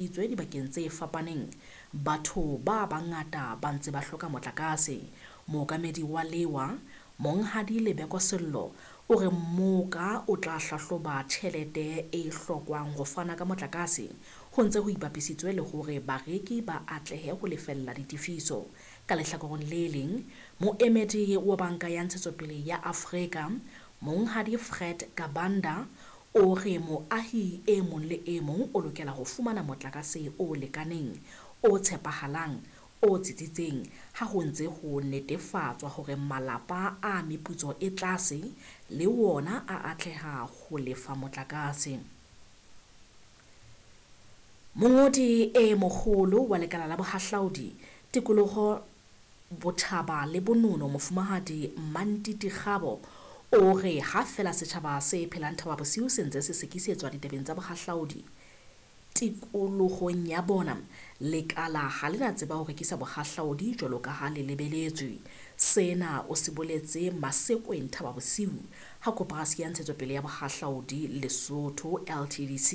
Itswe dibakeng tse fapaneng, batho ba bangata ba ntse ba hloka motlakase. Mookamedi wa lewa, Monghadi Lebeko Sello, o re mmoka o tla hlahloba tjhelete e hlokwang ho fana ka motlakase ho ntse ho ipapisitswe le hore bareki ba atlehe ho lefella ditefiso. Ka lehlakoreng le leng, moemedi wa Banka ya Ntshetsopele ya Afrika, Monghadi Fred Kabanda, o re moahi e mong le e mong o lokela ho fumana motlakase o lekaneng, o tshepahalang, o tsitsitseng ha ho ntse ho netefatswa hore malapa a meputso e tlase le wona a atleha ho lefa motlakase. Mongodi e moholo wa Lekala la Bohahlaudi, Tikoloho, Botjhaba le Bonono, Mofumahadi Mantiti Kgabo, o re ha feela setjhaba se phelang Thaba Bosiu se ntse se sekisetswa ditabeng tsa bohahlaudi tikolohong ya bona, lekala ha le na tseba ho rekisa bohahlaudi jwalo ka ha le lebeletswe. Sena o se boletse Masekweng Thaba Bosiu ha Koporasi ya Ntshetsopele ya Bohahlaudi Lesotho LTDC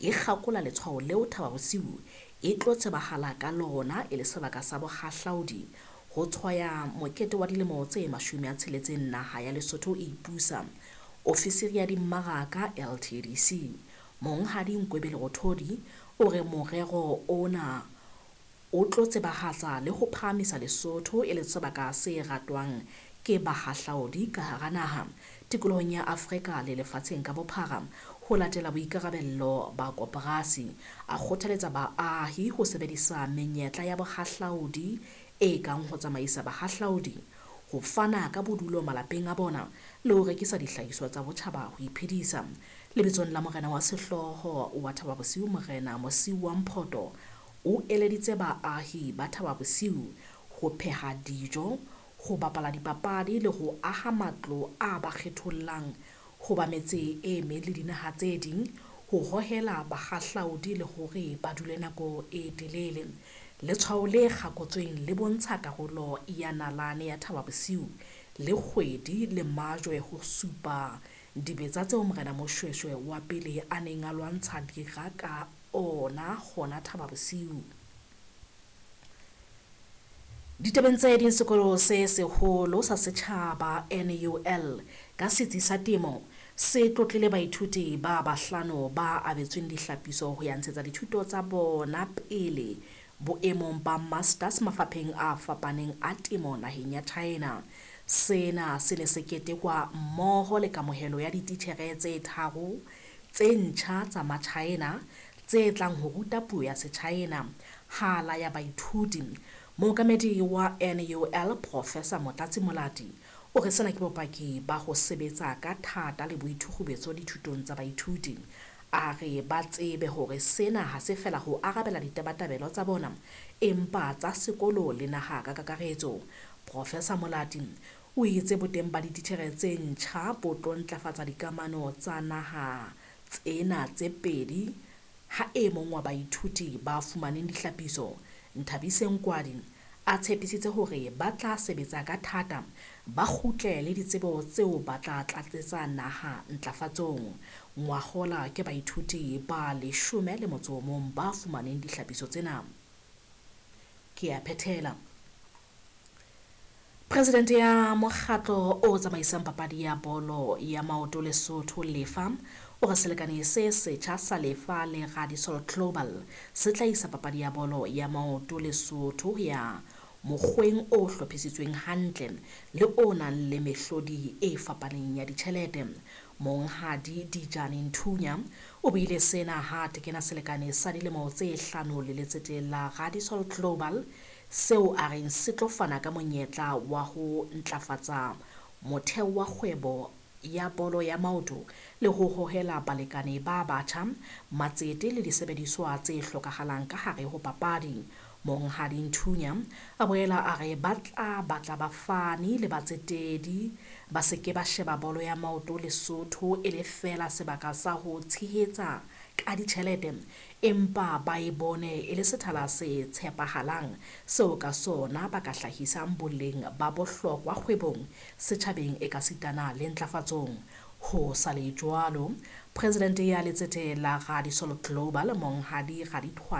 e kgakola letshwao leo Thaba Bosiu e tlo tsebahala ka lona e le sebaka sa bohahlaudi ho tshwaya mokete wa dilemo tse 60 naha ya Lesotho e ipusa. Ofisiri ya dimmaraka LTDC, Monghadi Nkwebe Lerothodi, o re morero ona o tlo tsebahatsa le ho phahamisa Lesotho e le sebaka se ratwang ke bahahlaodi ka hara naha, tikolohong ya Afrika le lefatsheng ka bophara, ho latela boikarabello ba koporasi. A kgothaletsa baahi ho sebedisa menyetla ya bohahlaudi e kang ho tsamaisa bahahlaudi, ho fana ka bodulo malapeng a bona le ho rekisa dihlahiswa tsa botjhaba ho iphedisa. Lebitsong la morena wa sehlooho wa Thaba Bosiu, Morena Mosiuwa Mphoto, o eleditse baahi ba Thaba Bosiu ho pheha dijo, ho bapala dipapadi le ho aha matlo a ba kgethollang ho ba metse e meng le dinaha tse ding, ho hohela bahahlaudi le hore ba dule nako e telele. Letshwao le kgakotsweng le bontsha karolo ya nalane ya Thaba Bosiu le kgwedi le majwe ho supa dibetsa tseo Morena Moshoeshoe wa pele a neng a lwantsha dira ka ona hona Thaba Bosiu. Ditabeng tse ding, sekolo se seholo sa setjhaba NUL ka setsi sa temo se tlotlile baithuti ba bahlano ba abetsweng dihlapiso ho ya ntshetsa dithuto tsa bona pele boemong ba masters mafapheng a fapaneng a temo naheng ya China. Sena se ne se ketekwa mmoho le kamohelo ya dititjhere tse tharo tse ntjha tsa Machina tse tlang ho ruta puo ya Sechina hala ya baithuti. Mookamedi wa NUL Professor Motlatsi Molati o re sena ke bopaki ba ho sebetsa ka thata le boithukgubetso dithutong tsa baithuti. A re ba tsebe hore sena ha se fela ho arabela ditabatabelo tsa bona, empa tsa sekolo le naha ka kakaretso. Professor Molati o itse boteng ba dititjhere tse ntjha bo tlo ntlafatsa dikamano tsa naha tsena tse pedi ha e mong wa baithuti ba fumaneng dihlapiso, Nthabiseng Kwadi, a tshepisitse hore ba tla sebetsa ka thata ba kgutle le ditsebo tseo ba tla tlatsetsa naha ntlafatsong. Ngwahola ke baithuti ba 11 ba fumaneng dihlapiso tsena. Ke a phethela. Presidente ya mokgatlo o tsamaisang papadi ya bolo ya maoto Lesotho Lefa o re selekane se setjha sa Lefa le Radisol Global se tla isa papadi ya bolo ya maoto Lesotho ya mokgweng o hlophisitsweng hantle le o nang le mehlodi e fapaneng ya ditjhelete. Monghadi Dijane Nthunya o buile sena ha tekena selekane sa dilemo tse 5 le letsete la Radisol Global seo a reng se tlo fana ka monyetla wa ho ntlafatsa motheo wa kgwebo ya bolo ya maoto le ho hohela balekane ba batjha, matsete le disebediswa tse hlokahalang ka hare ho papadi. Monghadi Nthunya a boela a re ba tla batla bafani le batsetedi ba se ke ba sheba bolo ya maoto Lesotho e le feela sebaka sa ho tshehetsa ka ditjhelete, empa ba e bone e le sethala se tshepahalang seo ka sona ba ka hlahisang boleng ba bohlokwa kgwebong, setjhabeng ekasitana le ntlafatsong. Ho sa le jwalo, Presidente ya Letsete la Radisol Global, Monghadi Radithwa